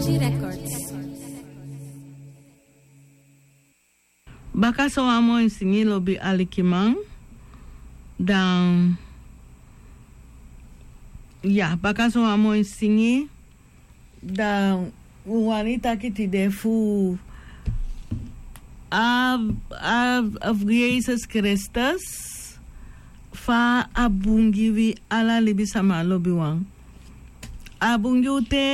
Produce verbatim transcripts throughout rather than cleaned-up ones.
Records. Baka sowan moi singi lobi alikiman. Dan ya baka sowan moi singi. Dan un wani taki tide fu a a a fu yesus kristus. Fa a bun gi wi ala libisama lobiwan. A bun gi u te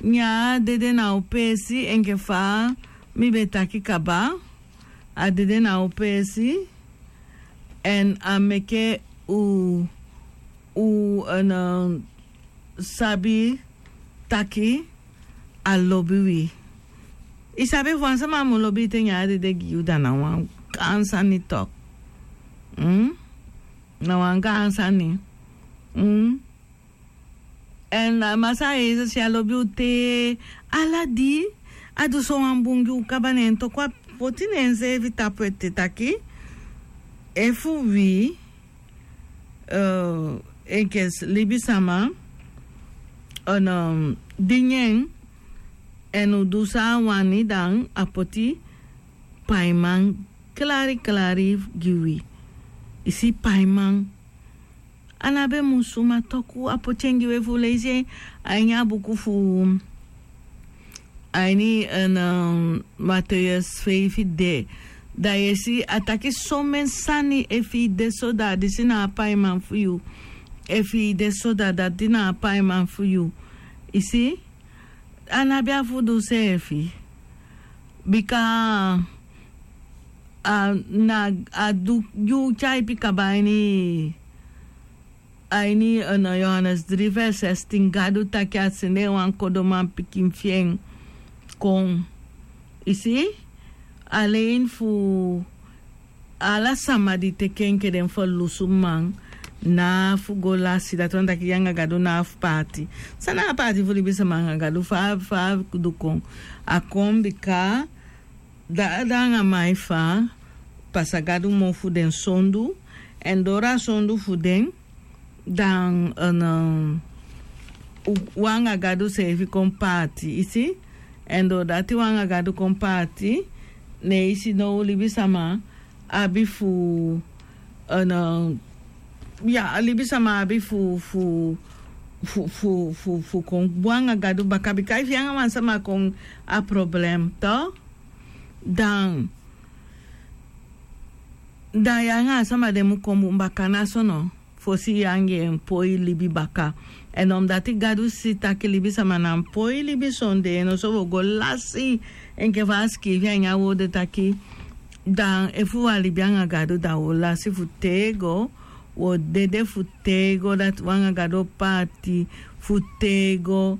nyan a dede na u peesi enke fa mi be taki kaba. A dede na u peesi. Èn a meke u u sabi taki a lobi wi. I sabi efu wan sama mu lobi i te nyan a dede gi yu da na wan gaan sani tok. Na wan gaan sani. Èn a masa a yesus ya lobi u te ala di a du sowan bun gi u kaba ne en toku a poti ne enseefi tapu ete taki efu wi enke libisama, dingi en èn u du san a wani dan a poti paiman klari klari gi wi. I si paiman. A na be mu suma toku a poti en gi wi efu u leisi en a ini a buku fu a ini en mateus feifi de. Da yu e si a taki somen sani efu i de so da a disi na a paiman fu yu. Efu i de so da dati na a paiman fu yu. I si a no abi a fu du seefi. Bika a na a du yu tyaipi kaba a ini a ini yohanes dri vers sestin gadu taki a sende wan kodoman pikin fi en kon. I si alen fu ala sama di teke enke den ferlusu man na fu go lasi dati wani taki yu anga gadu na fu paati. San na a paati fu libisama anga gadu fa a du kon? A kon bika dada anga mai fa pasa gadu mofu den sondu èn doro a sondu fu den dan wan anga gadu seefi kon paati i si. Èn doro dati wan anga gadu kon paati ne i si now libisama abi fu ya libisama abi fu fu fu fu fu kon bun anga gadu baka bika efu yu anga wan sama kon a problem to dan dan yu anga a sama de mu kon bun baka na so no. Fosi yu anga en poi libi baka èn omdati gadu si taki libisama na en poi libi sonde en no so wi o go lasi enke fa a sikiifi a ini a woo de taki dan efu wi a libi anga gadu da wi o lasi fu tego wi o dede fu tego dati wi anga gadu o paati fu tego.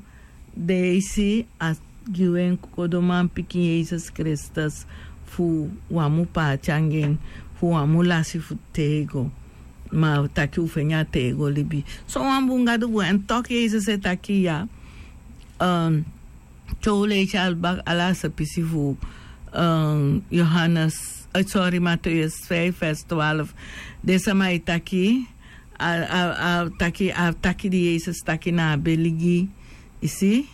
Den e si a gi wi en kokodoman pikin yesus kristus fu wi á mu paati anga en fu wi á mu lasi fu tego. Ma taki u feni a tego libi sowan bun gadu bun èn toki yesus e taki ya te u leisi alba ala a sepisi fu yohanes sori mateus feifi vers twalf. Den sama e taki a taki a taki di yesus taki na a beligi i si.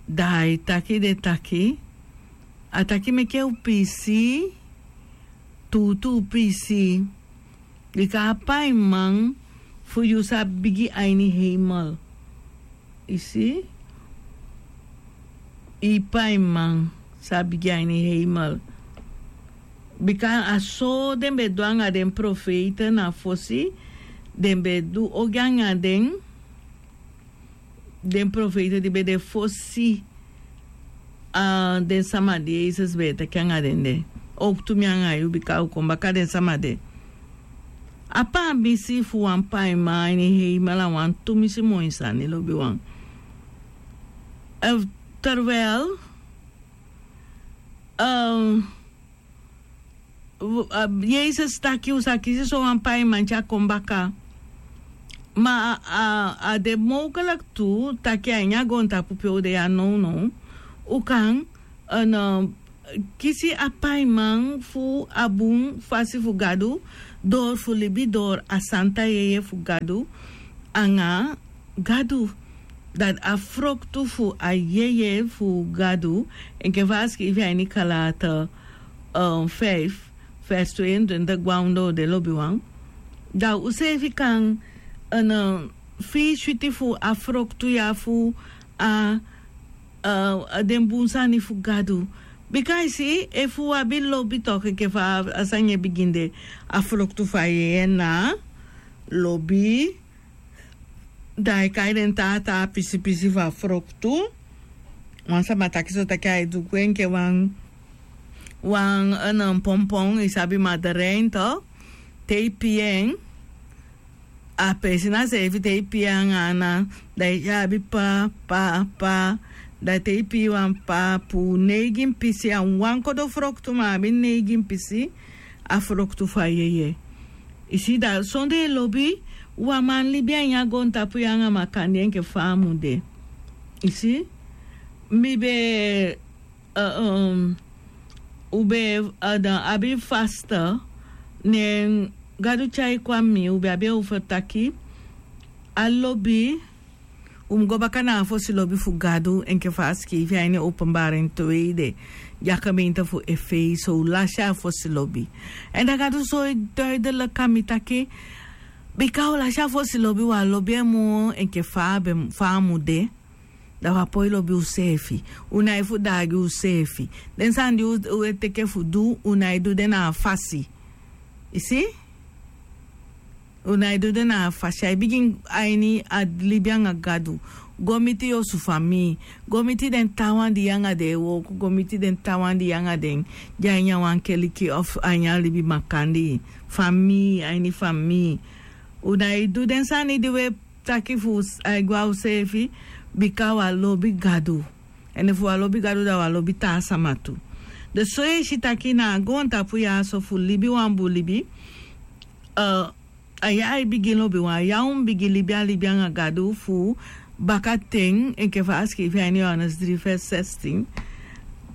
Da a e taki den taki a taki meke u piisii tuutuu piisii. Bika a paiman fu yu sa bigi a ini heimel i si. I paiman sa bigi a ini heimel. Bika a so den be du anga den profeite na fosi den be du ogii anga den den profeite di be de fosi den sama di yesus be e teke anga den de. Owktu mi anga yu bika u kon baka den sama de. A paamisi fu wan paiman a ini heimel a wan tumisi moi sani lobiwan. Terwijl yesus taki u sa kisi sowan paiman te a kon baka. Ma a de mowkeliki tu taki a ini a goontapu pe u de ya nownow u kan kisi a paiman fu a bun fasi fu gadu dori fu libi dori a santa yeye fu gadu anga gadu. dati a froktu fu a yeye fu Gadu, enke fa a skrifi a ini Kalata, fif, vers tu en twenti, gwan doo de, lobiwan. Da useefi kan fii switi fu a froktu ya fu a den bun sani fu Gadu. Bika i si, efu u abi lobi toki enke fa a sani e bigin de, a froktu fu a yeye na lobi. Da ai kai den taa taa pisi pisi fu a froktu. Wan sama taki so taki ai du gwe enke wan wan pompon, i sabi, maderein to. Te i pii en, a pesi na seefi te i pii en anga ana, da i abi pa pa pa. Da te i pii wan pa puu neigin pisi, a wan kodo froktu ma a abi neigin pisi. A froktu fu a yeye. I si, da sondee lobi u á man libi a ini a goontapu ya anga makandii enke fa a mu de. I si, mi be, u be abi fasta, ne Gadu tyai kon a mi, u be abi en over taki a lobi. U mu go baka na a fosi lobi fu Gadu enke fa a sikiifi a ini Openbaring twee de, di a gemeente fu Efeso, u lasi a fosi lobi. Èn da Gadu soi duidelijk a mi taki, bika u lasi a fosi lobi, u á lobi en moo enke fa a be, fa a mu de. Da u á poi lobi useefi. U nái fu daagi useefi. Den sani di u, u e teke fu du, u nái du den na a fasi. I si? U nái du den na a fasi. Ai bigin a ini a libi anga Gadu. Go miti yu osu famii. Go miti den taawan di yu anga den e wooko. Go miti den taawan di yu anga den de a ini a wan keliki of a ini a libi makandii. Famii, a ini famii. U nái du den sani di u e taki fu ai gwe a useefi, bika u á lobi Gadu. Èn efu u á lobi Gadu, da u á lobi taa sama tu. Dus so yu e si taki na a goontapu ya so fu libi wan bun libi, a ya ai bigin lobiwan, a ya u mu bigin libi a libi anga Gadu fu bakaten, enke fa a sikiifi a ini Johannes drie vers zestien.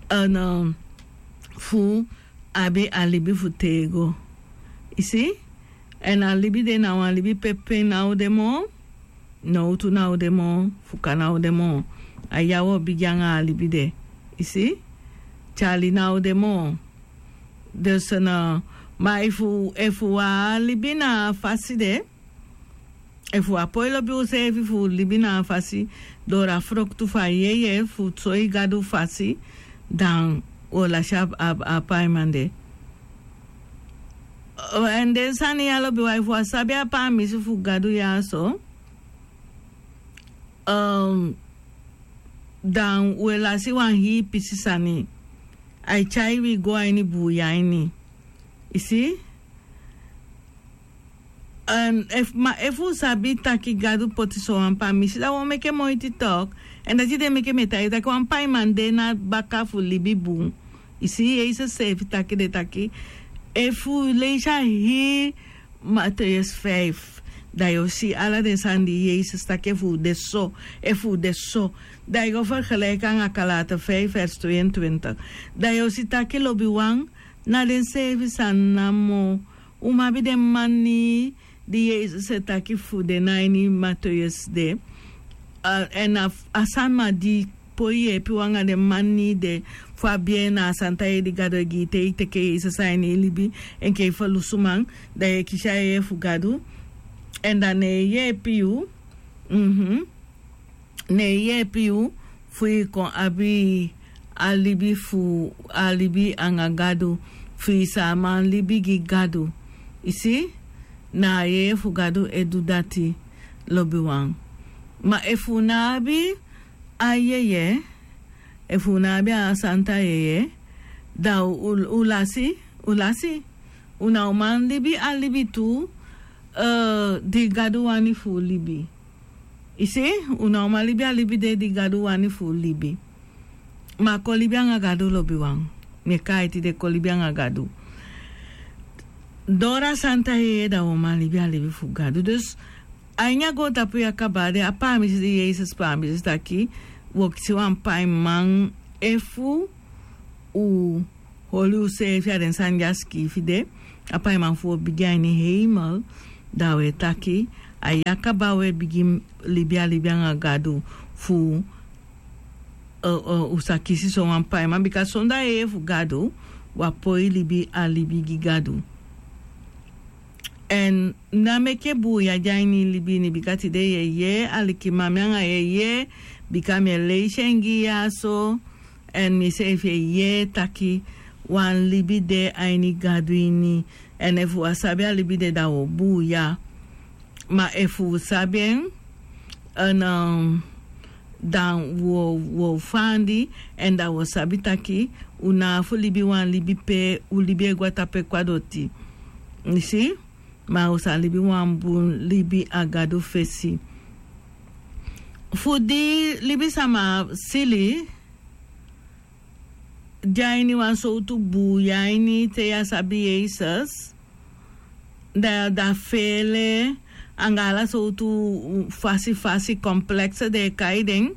Èn, eh, fu abi a libi fu tego. I si? Èn a libi de na wan libi pe pen ná o de moo, nowtu ná o de moo, fuka ná o de moo. A ya u o bigin anga a libi de. I si? Tyali ná o de moo. Dus, eh, ma efu, efu u á libi na a fasi de, efu u á poi lobi useefi fu libi na a fasi, doo a froktu fu a yeye fu soi Gadu fasi, dan u o lasi a, a, a paiman de. Èn den sani ya lobiwan, efu u á sabi a pamisi fu Gadu ya so, eh, dan u e lasi wan hii pisi sani. Ai tyai wi go a ini buuya ini. I si? Èn efu, ma efu u sabi taki Gadu poti sowan pamisi, da u o meke moiti tok. Èn dati de meke mi e taigi yu taki wan paiman de na baka fu libi bun. I si, Yesus seefi taki de taki, efu u leisi a hii Mateus vijf, da yu o si ala den sani di Yesus taki, efu u de so, efu u de so. Da yu go vergelijken anga Galaten vijf vers tweeëntwintig. Da yu o si taki lobiwan, na den seefi sani namo. U mu abi den mannii di Yesus e taki fu den na ini Mateus de. A, èn a, a sama di poi yeepi u anga den mannii de fu abi en na a santa yeye di Gadu e gi yu te i teke Yesus a ini i libi enke i ferlusuman, da yu e kisi a yeye fu Gadu. Èn da ne en yeepi yu. Mhm. Ne en yeepi yu fu i kon abi a libi fu, a libi anga Gadu, fu i sa man libi gi Gadu. I si? Na a yeye fu Gadu e du dati, lobiwan. Ma efu u ná abi a yeye, efu u ná abi a santa yeye, da u, u lasi, u lasi. U ná o man libi a libi tu, eh, di Gadu wani fu u libi. I si, u ná o man libi a libi de di Gadu wani fu u libi. Ma kon libi anga Gadu, lobiwan. Mi e kai tide, kon libi anga Gadu. Doo a santa yeye, da u o man libi a libi fu Gadu. Dus, a ini a goontapu ya kaba de, a pamisi di Yesus pamisi taki, u o kisi wan paiman efu u holi useefi a den sani di a sikiifi de, a paiman fu u o bigin a ini heimel, da u e taki, a ya kaba u e bigin libi a libi anga Gadu, fu un sa kisi sowan paiman bika sondu a yeye fu gadu, wi a poi libi a libi gi gadu. Èn na meke buuya de a ini libi ini bika tide yu e yee alikiman mi anga yu e yee, bika mi e leisi en gi yu ya so. Èn mi seefi e yee taki wan libi de a ini gadu ini. Èn efu wi á sabi a libi de da wi o buuya. Ma efu wi sabi en, dan wi o fandi. Èn da wi o sabi taki wi na abi fu libi wan libi pe wi libi e go a tapu e kon a doti. Yu si? Ma wi sa libi wan bun libi a gadu fesi. Fu di libisama sili de a ini wan sowtu buuya ini te yu á sabi yesus, da da feele anga ala sowtu fasi fasi komplekse den e kai den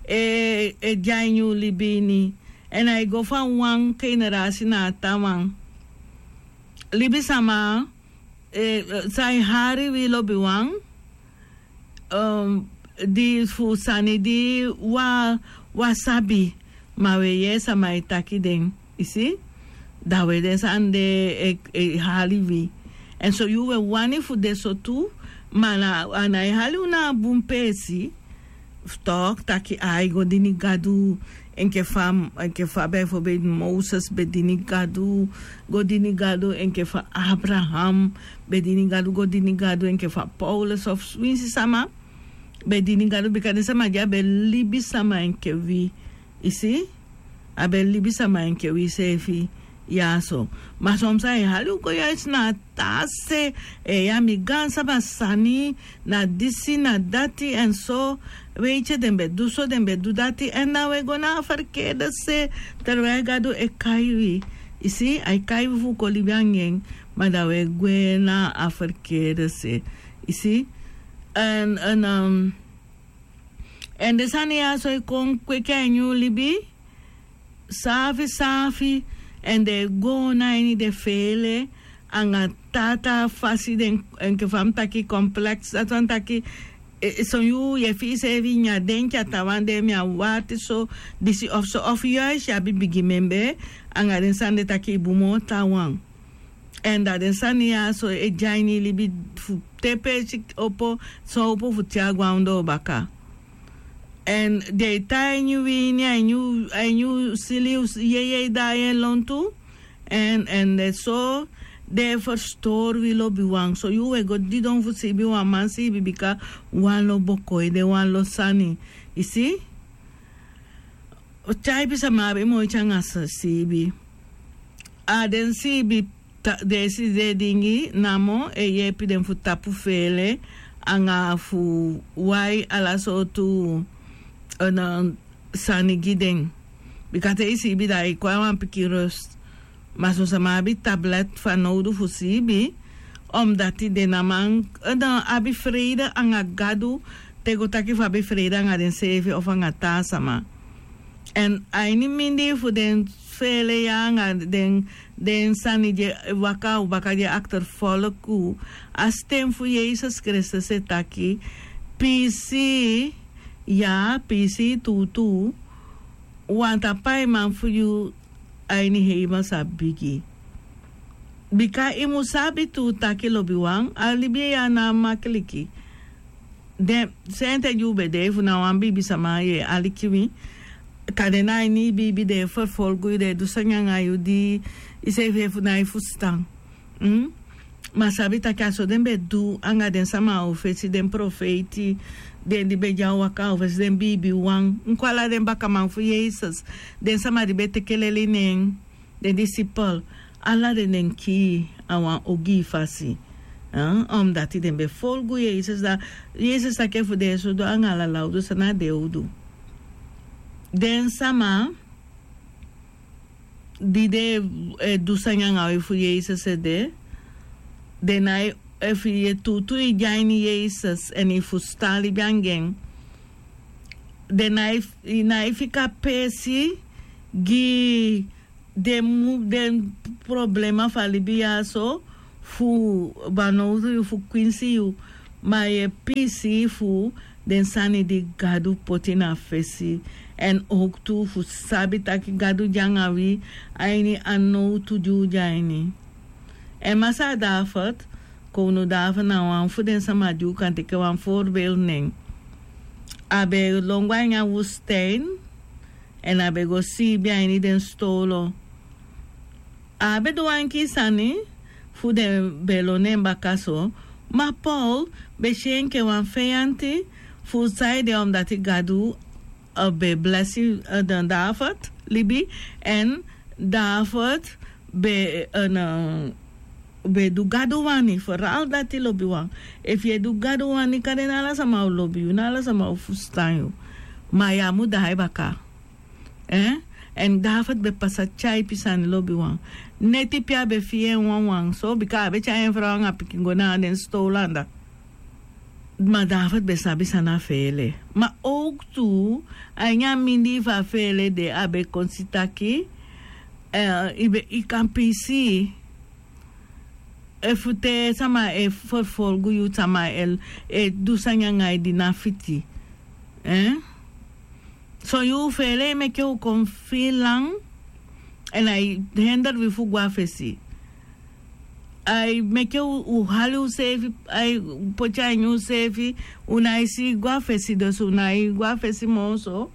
e de a ini un libi ini. Èn ai go fa wan generasi na a tan wan libisama san e hari wi lobiwan, di fu sani di wi á sabi, ma wi e yee sama e taki den. Yu si? Da wi e den sani de e hali wi. Èn so yu wi e wani fu de so tu. Ma a nái hali unu na a bun peesi. Fu toki taki ai go dini gadu enke fa enke fa bifobel moses be dini gadu, go dini gadu enke fa abraham be dini gadu go dini gadu enke fa paulus of swinsi sama be dini gadu bika den sama di a be libi sama enke wi. Yu si? A be libi sama enke wi seefi. Ya so. Ma son san e hali un go ya isi na a taa se. Ya mi gaan sama sani na disi na dati èn so. Weiti den be du so den be du dati èn na un e go na a ferkede se. Terwel gadu e kai wi. Yu si ai kai wi fu un kon libi anga en. Ma da un e gwe na a ferkede se. Yu si? Èn èn den sani ya so e kon kweki a ini un libi. Saafi saafi. Èn den e go na ini den feele anga taa taa fasi den enke fa mi taki kompleks dati wani taki. Son yuu yu e fii seefi ini a denki a tawan de mi a warti so. Disi of so of yuis yu abi bigi membee anga den sani de taki i bun moo tan wan. Èn da den sani ya so e de a ini i libi fu te peesi opo san opo fu te a go a ondoo baka. Èn den e tan a ini wi ini a ini u sili yeye e daai en lontu. Èn èn den so den e ferstori wi lobiwan so yu u e go didon fu siibi wan man siibi bika wan lo boko e de wan lo sani. Yu si? Tyaipi sama abi moiti anga siibi. A den siibi den e si den e dingi namo e yeepi den fu tapu feele anga fu wai ala sowtu sani gi den. Bika te i siibi da i kon a wan pikin rust. Ma son sama abi tablet fanowdu fu siibi. Omdati den na man abi freide anga gadu te go taki fu abi freide anga denseefi ofu anga taa sama. Èn a ini mindii fu den feele ya anga den sani di e waka a u baka di e akterfolku a sten fu yesus kristus e taki piisii ya piisii tuutuu. Wan ta paiman fu yu a ini heimel sa bigi. Bika i mu sabi tu taki lobiwan a libi ya na makiliki. Den sente di u be de efu na wan biibisama yu e aliki mi. Kande na a ini i biibi den e ferfolgu yu den e du sani anga yu di i seefi efu na i fusutan. Ma sabi taki a so den be du anga den sama a u fesi den profeiti den di be de a waka a u fesi den biibiwan nkwala den bakaman fu yesus. Den sama di be teke leli nen den disipel ala den den kii a wan ogii fasi. Omdati den be folgu yesus da yesus taki efu den e sudu anga ala lawdu san na den o du. Den sama di den e du sani anga wi fu yesus ede den nái efu yu e tuutuu i de a ini yesus èn i fusutan libi anga en. Den nái fika peesi gi den mu den problema fu a libi ya so fu banowtu yu fu kwinsi yu. Ma yu e piisii fu den sani di Gadu poti na fesi, èn owktu fu sabi taki Gadu de anga wi a ini a nowtu di u de a ini. Èn masaa David, kownu David na wan fu den sama di u kan teke wan voorbeeld nen. A be lon go a ini a woestijn, èn a be go siibi a ini den stowlo. A á be du wan enkii sani fu den be lon en baka so. Ma Paul be si en enke wan feyanti fu san ede, omdati Gadu, eh, be blesi, eh, den David libi, èn David be, eh, na, be du Gadu wani, vooral dati lobiwan. Efu yu e du Gadu wani, kande na ala sama o lobi yu, na ala sama o fusutan yu. Ma yu á mu daai baka. Eh? Èn David be pasa tyaipi sani, lobiwan. Neti pe a be fii en wanwan so, bika a be tyai en frow anga pikin go na den stowlo anda. Ma David be sabi san na feele. Ma owktu, a ini a mindii fu a feele de a be kon si taki, eh, i be, i kan piisii. Efu te sama e vervolg yu, sama e, e du sani anga yu di ná fiti. Eh? Son yuu feele e meke u kon fii lan, èn ai hender wi fu go a fesi. Ai meke u, u hali useefi, ai poti a ini useefi, u nái si go a fesi, dus u nái go a fesi moo so,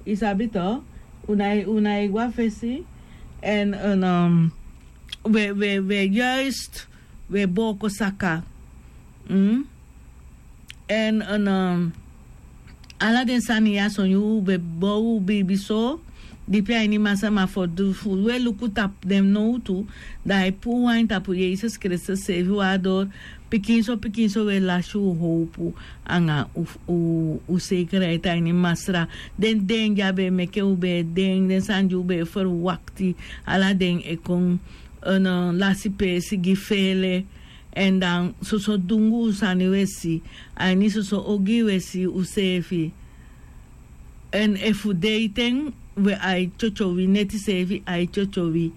i sabi to, u nái, u nái go a fesi, èn, èn, um, we, we, we juist, we booko saka. Mm? Èn, èn, um, ala den sani ya, son yuu be bow u biibi so dipi a ini Masra, ma fu du fu we luku tapu den nowtu, da ai puu u a ini tapu Yesus Kristus seefi, waardoor pikinso pikinso we lasi u howpu anga u, u, u zekerheid a ini Masra. Den, den di a be meke u be e denki, den sani di u be e verwakti, ala den e kon, èn, eh, lasi peesi gi feele. Èn dan soso dunguu sani we si, a ini soso ogii we si useefi. Èn efu deiten we ai tyotyowi, neti seefi ai tyotyowi.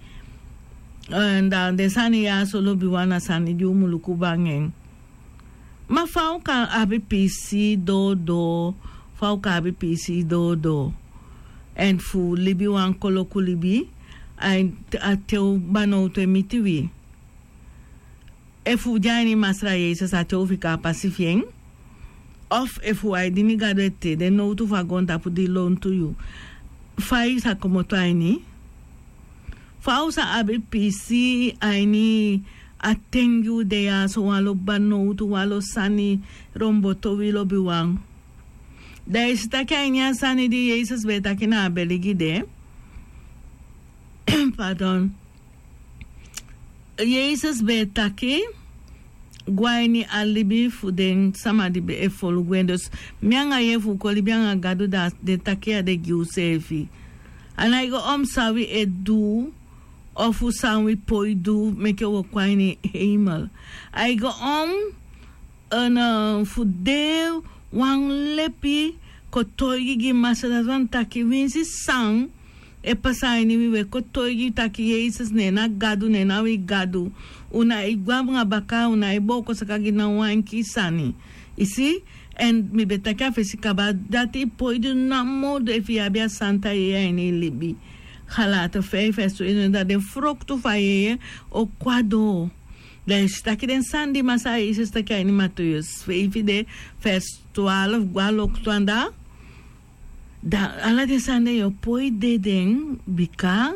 Èn dan den sani ya so, lobiwan, na sani di u mu luku baka en. Ma fa u kan abi piisii doodoo, fa u kan abi piisii doodoo. Èn fu libi wan koloku libi, a, a te u banowtu e miti wi. Efu u de a ini Masra Yesus, a te u fika a pasi fi en. Of efu u e dini Gadu ete, den nowtu fu a goontapu di lontu yu, fa i sa komoto a ini? Fa u sa abi piisii a ini a ten di u de ya so, wanlo banowtu, wanlo sani romboto wi, lobiwan. Da i si taki a ini a sani di Yesus be e taki na a beli gi de. Pardon. Yesus be e taki go a ini a libi fu den sama di be e folugu en. Dus mi anga yu, efu u kon libi anga Gadu, da den taki ya de gi useefi. A nái go om san wi e du, ofu san wi poi du meke u o kon a ini heimel. Ai go om, èn, eh, fu de wan lepi kotoigi gi Masra, dati wani taki winsi san e pasa a ini wi, wi e kotoigi taki Yesus, neen na Gadu, neen na wi Gadu. U nái go anga baka, u nái booko saka gi ná wan enkii sani. I si? Èn mi be taki a fesi kaba, dati poi du namo. Efu yu abi a santa yeye a ini i libi, Galate feifi, vers twintig, da den froktu fu a yeye o kon a doo. Da i si taki den sani di Masra Yesus taki a ini Mateus feifi de, vers twaalf go a loktu anda, da ala den sani de yu o poi de den, bika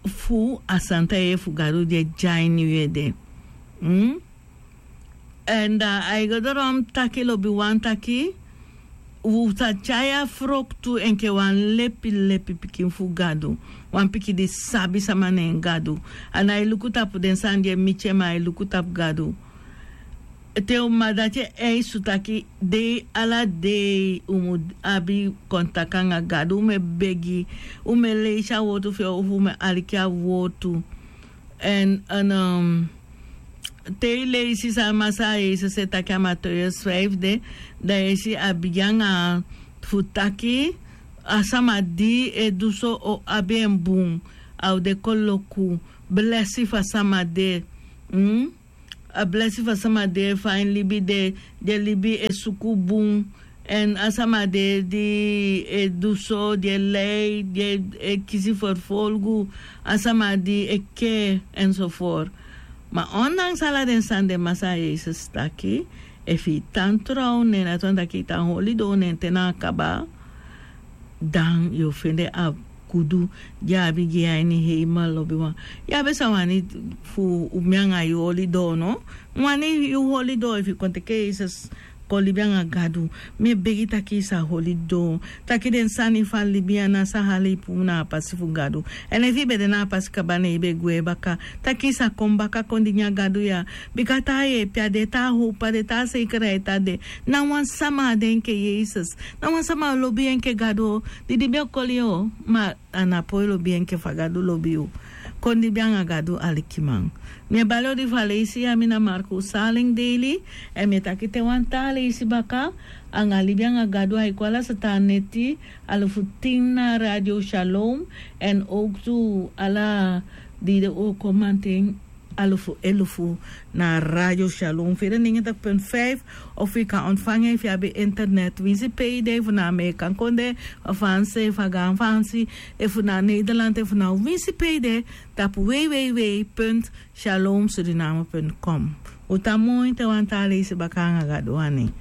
fu a santa yeye fu Gadu di e de a ini wi ede. Mm? Èn da ai go doro taki, lobiwan, taki u sa tyai a froktu enke wan lepi lepi pikin fu Gadu. Wan pikin di sabi sama neen Gadu. A nái luku tapu den sani di e miti en, ma ai luku tapu Gadu. Te u mama, dati e eisi u taki dei ala dei u mu abi kontaki anga Gadu, u mu e begi, u mu e leisi a wortu fi en, ofu u mu e aliki a wortu. Èn, èn, um, te i leisi san Masra Yesus e taki a Mateus feifi de, da i e si a bigin anga fu taki a sama di e du so o abi en bun, a o de koloku. Blesi fu a sama de, mm? A blesi fu a sama de, fa en libi de, den libi e suku bun, Èn a sama de di e du so di e lei di e kisi ferfolgu, a sama di e kee èn so for. Ma ondanks ala den sani de masa yesus taki, efu yu tan tron ne en dati wani taki yu tan holi doo ne en te na a kaba, dan yu o fende a gudu di a abi gi yu a ini heimel lobiwan. Yu abi san wani fu mi anga yu holi doo no? Mi wani yu holi doo efu yu kon teke yesus kon libi anga gadu. Mi e begi taki yu sa holi doo, taki den sani fu a libi ya na san hali yu puu na a pasi fu gadu. Èn efu yu be de na a pasi kaba ne yu be gwe baka, taki yu sa kon baka kon dingi a gadu ya. Bika taa yeepi a de, taa howpu a de, taa seikerheit a de. Na wan sama a de enke yesus. Na wan sama lobi yu enke gadu. Di di be o koli yu o ma a na poi lobi enke fa gadu lobi yu. Kon libi anga gadu alikiman. Mi e bali odi fu a leisi ya mi na marku saling deili. Èn mi e taki te wan taa leisi baka, anga libi anga gadu a e kon ala satan neti, alufu tin na radio shalom. Èn owktu ala di de o kon manten, alufu elufu na radio shalom fede ningi tak pun fif. Of yu kan ontfanga efu yu abi internet winsi pe yu de efu na ameekan konde, a fansi efu a gaan fansi, efu na nederland efu na winsi pe yu de, tapu wei wei wei punt shalom suriname punt com. Un tan moi te wan taa leisi baka anga gadu wani.